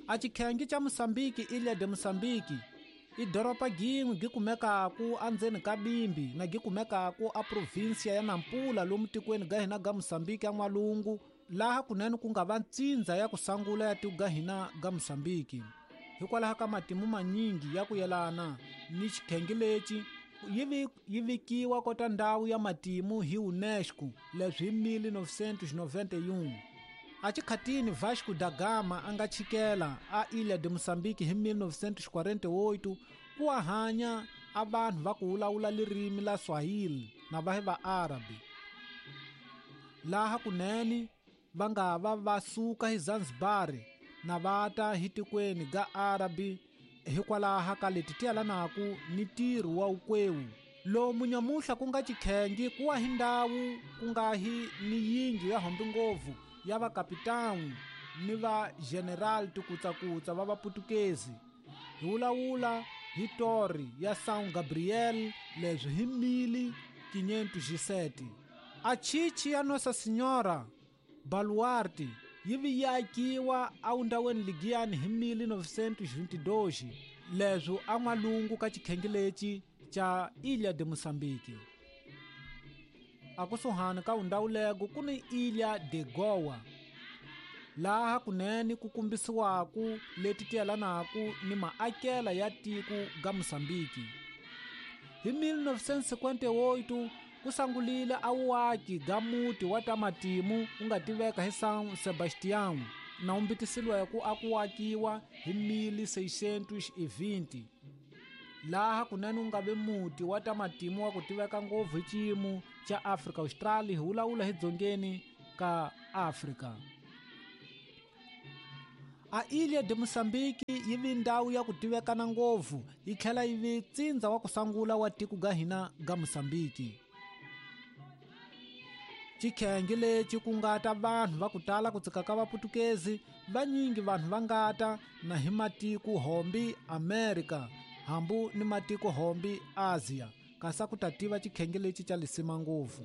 A xikhengi xa Mosambiki, Ilha de Mosambiki, i doropa gin'we gi kumekaku andzeni ka Bimbi na gi kumekaku a provinsia ya Nampula lomu tikweni ga hina ga Mosambiki ya n'walungu, laha kunene ku nga va ntsindza ya ku sangula ya tiko ga hina ga Mosambiki. Hikwalaho ka matimu manyingi ya ku yelana ni xikhengi lexi, yi vikiwa kota ndhawu ya matimu hi UNESCO leswi hi 1991. A xikhatini Vasco da Gama a nga chikela a Ilha de Mosambiki hi 1948 ku a hanya a vanhu va ku vulavula ririmi la Swahili na vahi va Arabi. Laha kunene va nga va va suka hi Zanzibar na vata hi tikweni ga Arabi hikwalaho ka leti ti yelanaku ni ntirho wa ukwewu. Lomu nyamuhla ku nga xikhengi ku wa hi ndhawu ku nga hi ni yindlu ya hombi ngopfu ya vakapitani ni va general tikutsakutsa va vaputukezi. Hi vulavula hi tori ya São Gabriel leswi hi 1507. A chichi ya Nossa Senhora Baluarte yi vi yi akiwa awundaweni ligiyani hi 1922 leswi a n'walungu ka xikhengi lexi xa Ilha de Mosambiki. A kusuhani ka undawulego ku ni Ilha de Goa, laha kunene ku kumbisiwaku leti ti yelanaku ni maakela ya tiko ga Mosambiki. Hi 1958 ku sangulile a wuaki ga muti wa ta matimu wu nga tiveka hi São Sebastião na wu mbitisiweke a ku akiwa hi 1620. Laha kunene wu nga ve muti wa ta matimu wa ku tiveka ngopfu hi xiyimo xa Afrika Austral, hi vulavula hi dzongeni ka Afrika. A Ilha de Mosambiki yi vi ndhawu ya ku tivekana ngopfu yi tlhela yi vi tsindza wa ku sangula wa tiko ga hina ga Mosambiki. Xikhengi lexi ku nga ta vanhu va ku tala ku tsika ka vaputukezi, vanyingi vanhu va nga ta na hi matiko hombi Amerika hambu ni matiko hombi Asia, kasi ku ta tiva xikhengi lexi xa lisima ngopfu.